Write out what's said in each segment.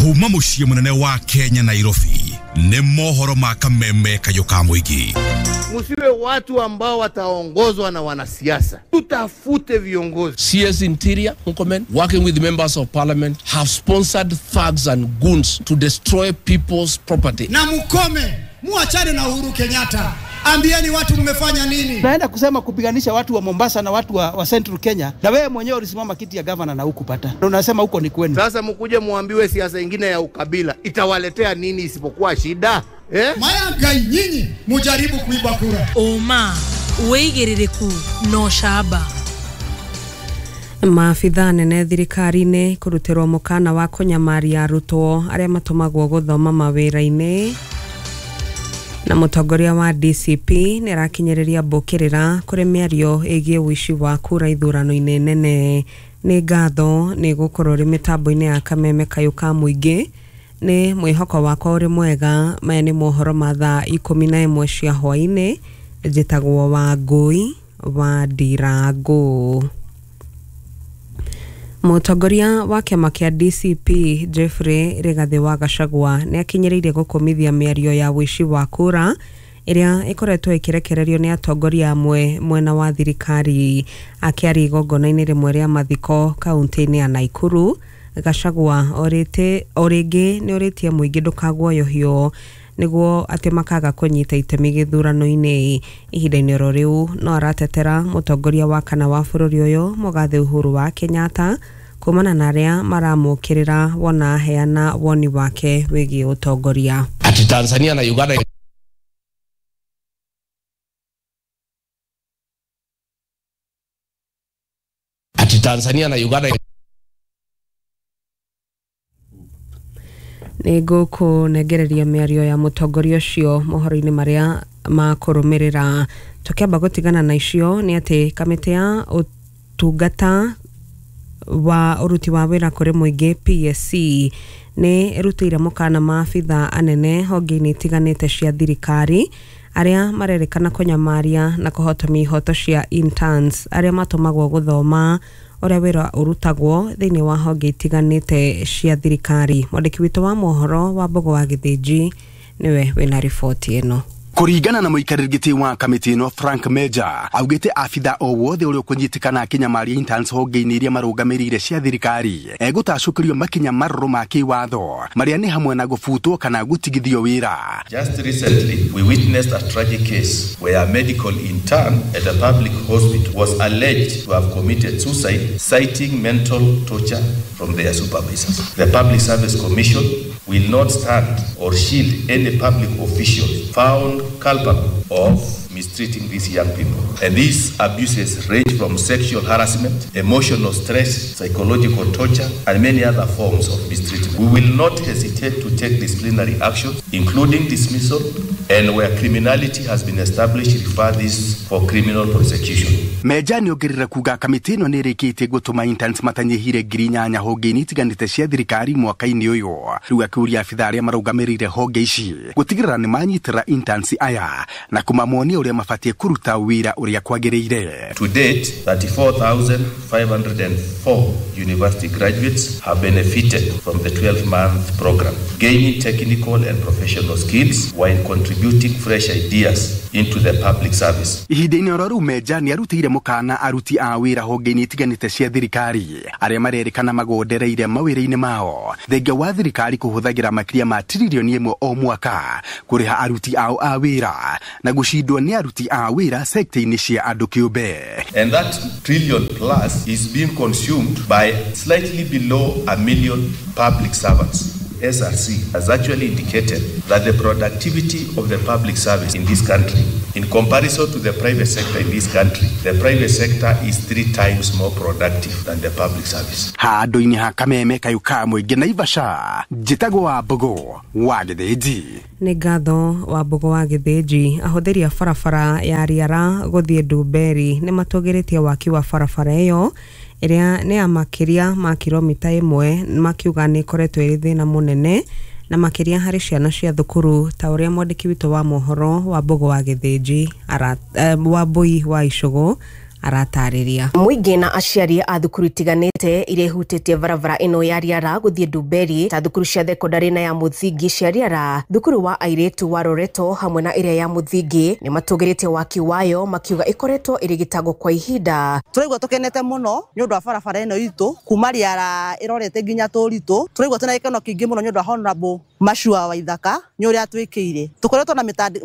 Kuma muciĩ munene wa Kenya Nairobi nĩ mohoro ma kameme kayũ ka mũingĩ. Musiwe watu ambao wataongozwa na wanasiasa, tutafute viongozi. CS Interior Murkomen, working with members of parliament, have sponsored thugs and goons to destroy people's property. Na mukome, muachane na Uhuru Kenyatta. Ambieni watu mmefanya nini? Naenda kusema kupiganisha watu wa Mombasa na watu wa Central Kenya, na wewe mwenyewe ulisimama kiti ya governor na hukupata. Na unasema huko ni kwenu. Sasa mkuje muambiwe siasa ingine ya ukabila itawaletea nini isipokuwa shida? Eh? Maya nyinyi mujaribu kuiba kura. Oma wigiririku no shaba. Maabithaa nene thirikari-inĩ kũrutĩrwo mũkana wa kũnyamaria arutwo arĩa matũmagwo gũthoma mawĩra-inĩ. Na mũtongoria wa DCP nĩ arakinyĩrĩria mbũkĩrĩra kũrĩ mĩario ĩgiĩ ũici wa kura ithurano-inĩ nene. Nĩ ngatho nĩ gũkorwo ũrĩ mĩtambo-inĩ ya kameme kayũ ka mũingĩ. Nĩ mwĩhoko wakwa ũrĩ mwega. Maya nĩ mohoro ma thaa 11 cia hwaĩ-inĩ. Njĩtagwo Wangũi wa Ndirangũ. Mũtongoria wa kĩama kĩa DCP Jeffrey Rigathĩ wa Gachagua nĩ akinyĩrĩirie gũkũmithia mĩario ya ũici wa kura ĩrĩa ĩkoretwo ĩkĩrekererio nĩ atongoria amwe mwena wa thirikari. Akĩaria igongona-inĩ rĩmwe rĩa mathiko kaunti-inĩ ya Nakuru, Gachagua o rĩngĩ nĩ ũrĩtie mũingĩ ndũkaguoyohio nĩguo atĩ makaga kũnyita itemi gĩthurano-inĩ. Ihinda-inĩ oro rĩu no aratetera mũtongoria wa kana wa bũrũri ũyũ Mũgathe Uhuru wa Kenyatta kumana na arĩa maramũkĩrĩra wona aheana woni wake wĩgiĩ ũtongoria. Ati Tanzania na Uganda Ati Tanzania na Uganda nĩ ngũkũnengereria mĩario ya mũtongoria ũcio mohoro-inĩ marĩa makũrũmĩrĩra. Tũkĩamba gũtigana na icio nĩ atĩ kamĩtĩ ya ũtungata wa ũruti wa wĩra kũrĩ mũingĩ PSC nĩ ĩrutĩire mũkana maabithaa anene honge-inĩ itiganĩte cia thirikari arĩa marerĩkana kũnyamaria na kũhotomia ihoto cia interns arĩa matũmagwo gũthoma ũrĩa wĩra ũrutagwo thĩinĩ wa honge itiganĩte cia thirikari. Mwandĩki witũ wa mohoro wa Mbogo wa Gĩthĩnji nĩwe wĩna riboti ĩno. Kũringana na mũikarĩri gĩtĩ wa kamĩtĩ ĩno Frank Meja augĩte abitha o wothe ũrĩa ũkũnyitĩkana akĩnyamaria interns honge-inĩ iria marũgamĩrĩire cia thirikari egũtacũkĩrio makinya marũrũ ma kĩwatho marĩa nĩ hamwe na gũbutwo kana gũtigithio wĩra. Just recently we witnessed a tragic case where a medical intern at a public hospital was alleged to have committed suicide, citing mental torture from their supervisors. The Public Service Commission will not stand or shield any public official found culpable of mistreating these young people. And these abuses range from sexual harassment, emotional stress, psychological torture, and many other forms of mistreatment. We will not hesitate to take disciplinary actions, including dismissal, and where criminality has been established, refer this for criminal prosecution. Meja nĩ ongerera kuga kamĩtĩ ĩno nĩ ĩrĩkĩtie gũtũma interns matanyihire 8,000 honge-inĩ itiganĩte cia thirikari mwaka-inĩ ũyũ. Rĩu akĩũria abithaa arĩa marũgamĩrĩire honge ici gũtigĩrĩra nĩ manyitĩrĩra interns aya na kũmamonia ũrĩa mabatiĩ kũruta wĩra ũrĩa kwagĩrĩire. To date, 34,504 university graduates have benefited from the 12-month program, gaining technical and professional skills while contributing fresh ideas into the public service. Ihinda-inĩ oro rĩu Meja nĩ arutĩire mũkana aruti a wĩra honge-inĩ itiganĩte cia thirikari arĩa marerĩkana magondereire mawĩra-inĩ mao thengia wa thirikari kũhũthagĩra makĩria ma tiririoni 1 o mwaka kũrĩha aruti ao a wĩra na gũcindwo nĩ aruti a wĩra sekta-inĩ cia andũ kĩũmbe. And that trillion plus is being consumed by slightly below 1 million public servants. SRC has actually indicated that the productivity of the public service in this country, in comparison to the private sector in this country, the private sector is 3 times more productive than the public service. Handũ-inĩ ha kameme kayũ ka mũingĩ Naivasha, njĩtagwo Wambũgũ wa Gĩthĩnji. Nĩ ngatho Wambũgũ wa Gĩthĩnji. Ahũthĩri a barabara ya Riara gũthiĩ Ndumberi nĩ matũgĩrĩtie waki wa barabara ĩyo ĩrĩa nĩ ya makĩria ma kilomita 1, makiuga nĩ ĩkoretwo ĩrĩ thĩna mũnene na makĩria harĩ ciana cia thukuru ta ũrĩa mwandĩki witũ wa mohoro wa Mbogo wa Gĩthĩnji Wambui wa Icũgũ Aratarĩria. Mũingĩ na aciari a thukuru itiganĩte iria ihutĩtie barabara ĩno ya Riara gũthiĩ Ndumberi ta thukuru cia thekondarĩ na ya mũthingi cia Riara, thukuru wa airĩtu wa Loreto hamwe na ĩrĩa ya mũthingi nĩ matũgĩrĩtie waki wayo makiuga ĩkoretwo ĩrĩ gĩtango kwa ihinda. Tũraigua tũkenete mũno nĩ ũndũ wa barabara ĩno itũ kuma Riara ĩrorete nginya Tũritũ. Tũraigua twĩna gĩkeno kĩingĩ mũno nĩ ũndũ wa Honorable Machua Waithaka nĩ ũrĩa atwĩkĩire. Tũkoretwo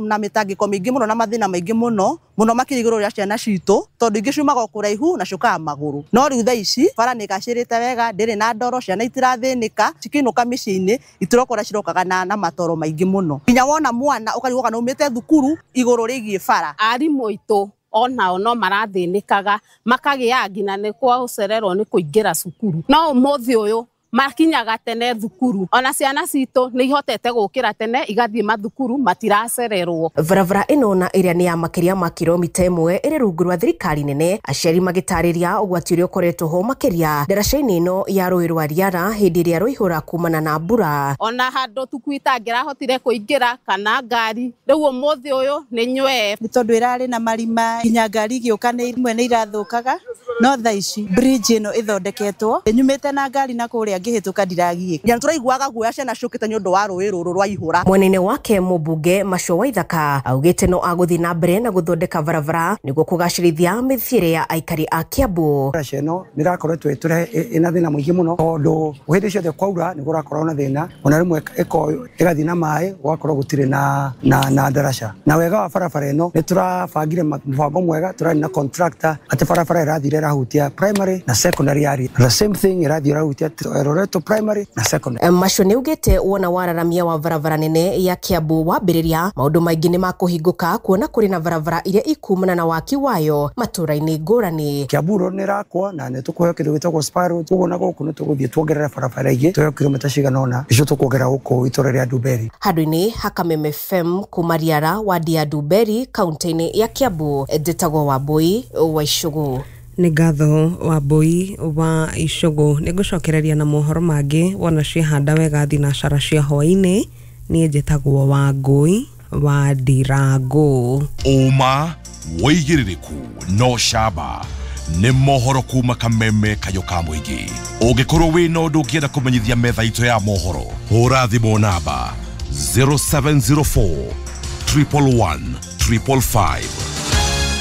na mĩtangĩko mĩingĩ mũno na mathĩna maingĩ mũno mũno makĩria igũrũ rĩa ciana citũ tondũ ingĩ ciumaga o kũraihu na ciũkaga magũrũ. No rĩu thaa ici bara nĩ ĩgacĩrĩte wega, ndĩrĩ na ndoro, ciana itirathĩnĩka, cikĩinũka mĩciĩ-inĩ itirokora cirokaga na matoro maingĩ mũno. Nginya wona mwana ũkarigwo kana umĩte thukuru igũrũ rĩgiĩ bara. Arimũ aitũ onao no marathĩnĩkaga makagĩa nginya nĩ gũcererwo nĩ kũingĩra cukuru, no ũmũthĩ ũyũ makinyaga tene thukuru, ona ciana citũ nĩ ihotete gũkĩra tene igathiĩ mathukuru matiracererwo. Barabara ĩno na ĩrĩa nĩ ya makĩria ma kilomita 1 ĩrĩ rungu rwa thirikari nene, aciari magĩtarĩria ũgwati ũrĩa ũkoretwo ho makĩria ndaraca-inĩ ĩno ya rũĩ rwa Riara hĩndĩ ĩrĩa rũihũra kumana na mbura. Ona handũ tukui itangĩrahotire kũingĩra kana ngari, rĩu ũmũthĩ ũyũ nĩ nywee nĩ tondũ ĩrarĩ na marima nginya ngari igĩũka nĩ imwe nĩ irathũkaga, no thaa ici bridge ĩno ĩthondeketwo nyumĩte na ngari na kũrĩa ngĩhĩtũka ndiragiĩka. Nginya tũraiguaga guoya ciana ciũkĩte nĩ ũndũ wa rũĩ rũrũ rwa ihũra. Mwena-inĩ wake mũmbunge Machua Waithaka augĩte no agũthiĩ na mbere na gũthondeka barabara nĩguo kũgacĩrithia mĩthiĩre ya aikari a Kiambu. Ndaraca ĩno nĩ ĩrakoretwo ĩna thĩna mũingĩ mũno tondũ hĩndĩ ciothe kwaura nĩ kũrakorwo na thĩna, ona rĩmwe ĩgathiĩ na maĩ gũgakorwo gũtirĩ na ndaraca. Na wega wa barabara ĩno nĩ tũrabangire mũbango mwega, tũrarĩ na contractor atĩ barabara ĩrathire ĩrahutia primary na secondary area. The same thing ĩrathiĩ ĩrahutia Loreto primary na secondary. Macho nĩ augĩte wona wararamia wa barabara nene ya Kiambu wambĩrĩria maũndũ maingĩ nĩ makũhingũka kuona kũrĩ na barabara iria ikumana na waki wayo matũra-inĩ ngũrani. Kiambu Road nĩ ĩrakwo na nĩ tũkũheo kĩndũ gĩtagwo Spar Road, koguo na gũkũ nĩ tũgũthiĩ tuongerere barabara ingĩ tũheo kilomita cigana ũna icio tũkuongerera gũkũ itũra rĩa Ndumberi. Handũ-inĩ ha Kameme FM kuma Riara wadi ya Ndumberi kaunti-inĩ ya Kiambu, njĩtagwo Wambui wa Icũgũ. Nĩ ngatho Wambui wa Icũgũ. Nĩ ngũcokereria na mohoro mangĩ wona ciehanda wega thinacara cia hwaĩ-inĩ. Niĩ njĩtagwo Wangui wa Ndirango. Ũma wĩigĩrĩrĩku no camba nĩ mohoro kuma Kameme kayũ ka mũingĩ. Ũngĩkorwo wĩna ũndũ ũngĩenda kũmenyithia metha itũ ya mohoro, hũra thimũ namba 0704 111 555.